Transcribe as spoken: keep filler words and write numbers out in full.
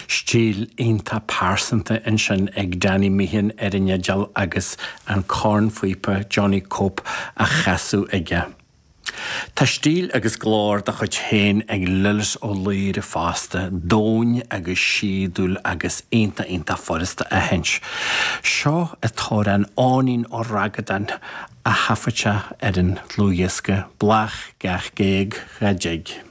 Stíl iontach pearsanta ansin ag Danny Meehan ar an fhidil agus an cornphíopa Johnny Cope á chasadh aige. Tá stíl agus glór dá chuid féin ag Lillis Ó Laoire fosta, domhain agus síodúil agus iontach iontach furasta a aithint. Seo an t-amhrán Eoinín Ó Ragadáin a thaifead sé ar an dlúthdhiosca Blach Gach Géag Dá dTig.